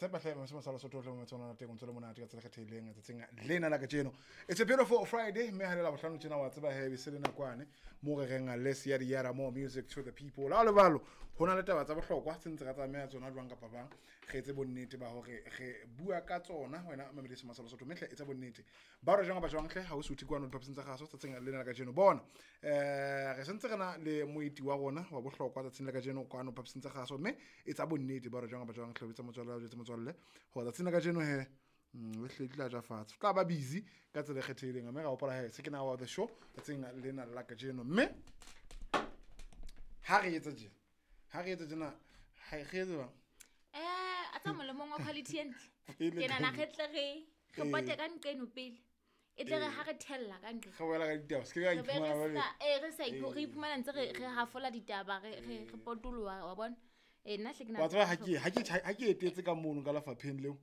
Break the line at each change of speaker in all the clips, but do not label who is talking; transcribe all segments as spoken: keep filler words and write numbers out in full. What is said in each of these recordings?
Tshepa hle mose sa Lesotho hle motse ona teng o ntse le monate ka tsela kgethehileng tsatsing lena la kajeno. It's a beautiful Friday mme ha le la bohlano tjena wa tseba he be se le nakwane mo re reng less ya di yara more music to the people. La le balo ho na le taba tsa bohlokwa tse ntse ra tsamaya tsona jwang kapa bang re etse bonnete ba hore re bua ka tsona wena mamedi se masala Sotho mehle etsa bonnete ba re jwang ba jwang hle ha o suthe kwano diphaposing tsa kgaso tsatsing lena la kajeno. Bona eh re sentse re na le moeti wa rona wa bohlokwa tsatsing la kajeno kwano diphaposing tsa kgaso mme etsa bonnete ba re jwang ba jwang hle etsa motswalle wa jwetse motswalle ho tsatsing la kajeno he le hle tla ja fatshe tla ba busy ka tsela e kgethehileng mme ra hopola he se ke na wa the show tsatsing lena la kajeno mme ha re etsa tjena ha re etsa tjena ha re etse bang
eh a tsa molemong wa quality e ntle ke nana re tle re re pote ka nqeno pele e tle re ha re thella ka nqe
re wela ka ditaba se ke ka iphumana ba
le eh re sa ipho re iphumana ntse re re hafola ditaba re re re potoloha wa bona eh nna hle ke
na wa tseba ha ke ha ke ha ke etetse ka mono ka lefapheng leo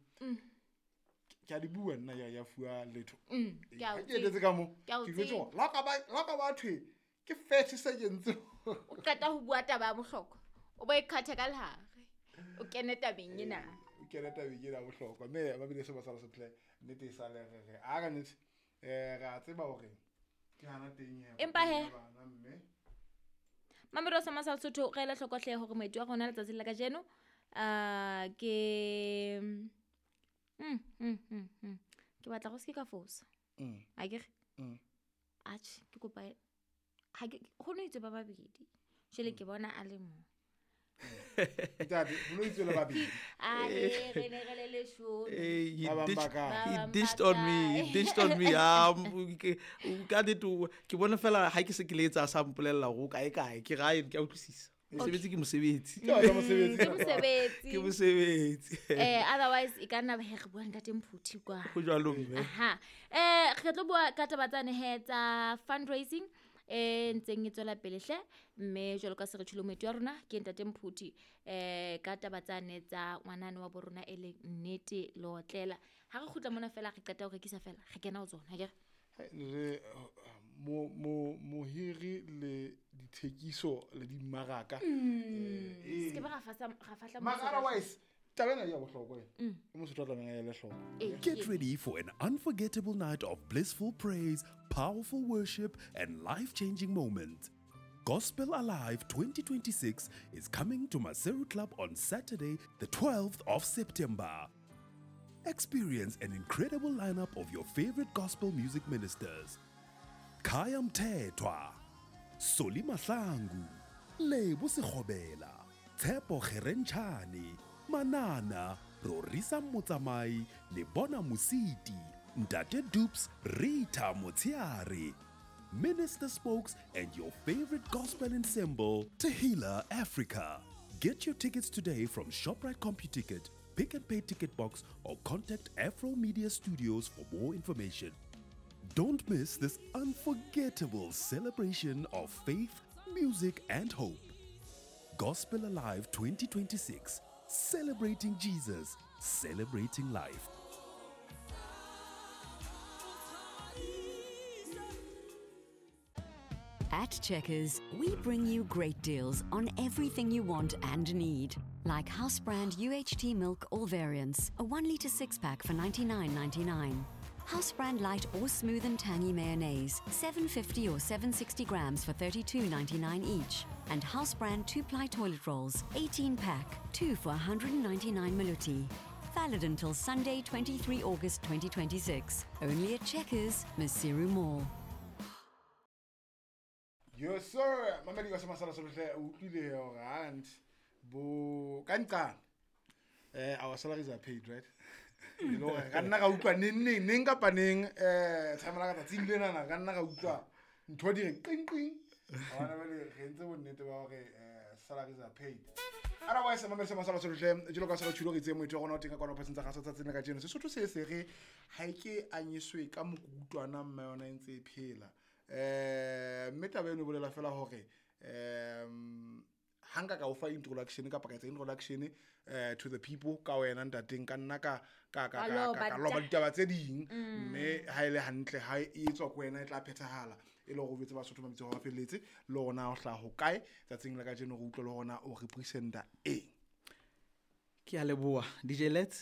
ke a di bua nna ya ya fuwa letho
ke
ke etetse ka mo ke jwetse hore la ka ba la ka ba thwe ke thirty seconds
o qeta ho bua taba ya bohlokwa o bo ikhathe ka lehare o kene tabeng ena
o kene tabeng ena bohlokwa mme ba bile se ba sala setle nnete e sale re re a ka nnete eh re a tseba hore ke hana teng
he empa he
mme
Mamelo sa Masala Sotho re la hlokohle hore moeti wa rona letsatsi la kajeno a ke mm mm mm ke batla go se ka fosa
mm
a ke re
mm
atjhe ke kopa ha ke go no itse ba babedi jele ke bona a le mo
Ntate ho no itse le babedi
a re re ne re le leshome
eh he dished on me he dished on me um ka dit ke bona fela ha ke se ke le etsa sa mpolella go kae kae ke gae ke a utlwisisa mosebetsi ke mosebetsi
ke mosebetsi
ke mosebetsi
ke mosebetsi
eh otherwise e ka nna he re bua ntate Mphuthi kwa
go jwalo mme
aha eh re tlo bua ka taba tsane he tsa fundraising eh ntseng e tswela pele hle mme jwalo ka se re tshilo moeti wa rona ke ntate Mphuthi eh ka taba tsane tsa ngwanane wa borona e leng Nnete Leotlela ha re kgutla mona fela re qeta ho rekisa fela re kena ho tsona ke
re mo mo mohiri le dithekiso le dimmaraka
eh se ke ba ra fasa ra fahla
mo otherwise taba ena ya bohlokwa e motho tla tlamehang ya le hloko.
Get ready for an unforgettable night of blissful praise, powerful worship and life-changing moments. Gospel Alive twenty twenty-six is coming to Maseru Club on Saturday, the twelfth of September. Experience an incredible lineup of your favorite gospel music ministers. Khaya Mthethwa, Soli Mahlangu, Lebo Sekgobela, Tshepo Kgerenchane, Manana, Rorisa Motsamai, Lebona Musiti, Ntate Dupes, Rita Motiare, Minister Spokes, and your favorite gospel ensemble, Tehila Africa. Get your tickets today from ShopRite CompuTicket, Pick and Pay Ticket Box, or contact Afro Media Studios for more information. Don't miss this unforgettable celebration of faith, music, and hope. Gospel Alive twenty twenty-six, celebrating Jesus, celebrating life.
At Checkers, we bring you great deals on everything you want and need. Like house brand U H T milk all variants, a one litre six pack for ninety-nine ninety-nine. House brand light or smooth and tangy mayonnaise, seven fifty or seven sixty grams for thirty-two ninety-nine each. And house brand two-ply toilet rolls, eighteen pack, two for one hundred ninety-nine maluti. Valid until Sunday, twenty-three August twenty twenty-six. Only at Checkers, Maseru Mall.
Yes sir, mamedi ka semasala solohle o utlwile hore and bo ka nqana eh our salaries are paid, right? You know ka nna ka utlwa neng neng neng kapa neng eh tshamela ka tsatsing lena na ka nna ka utlwa ntho di re qing qing bona ba le re ntse bonnete ba hore salaries are paid. Otherwise mamedi semasala solohle jelo ka sala tshilo re itse moetho rona o teng ka kwana phaseng tsa gasa tsatsing la kajeno Sesotho se se re ha ke anyiswe ka mokutwana mme yona e ntse e phela. Eh mme taba eno bolela fela hore um ha nka ka o fa introduction kapa ka etsa introduction eh to the people ka wena ntateng ka nna ka ka ka ka loba ditaba tse ding mme ha ile hantle ha e tswa ko wena e tla phethahala e le hore o betse Basotho ba bitse hore ba felletse le rona o hlaha ho kae tsatsing la kajeno re utlwe le hona o representa eng.
Ke a leboha D J Let's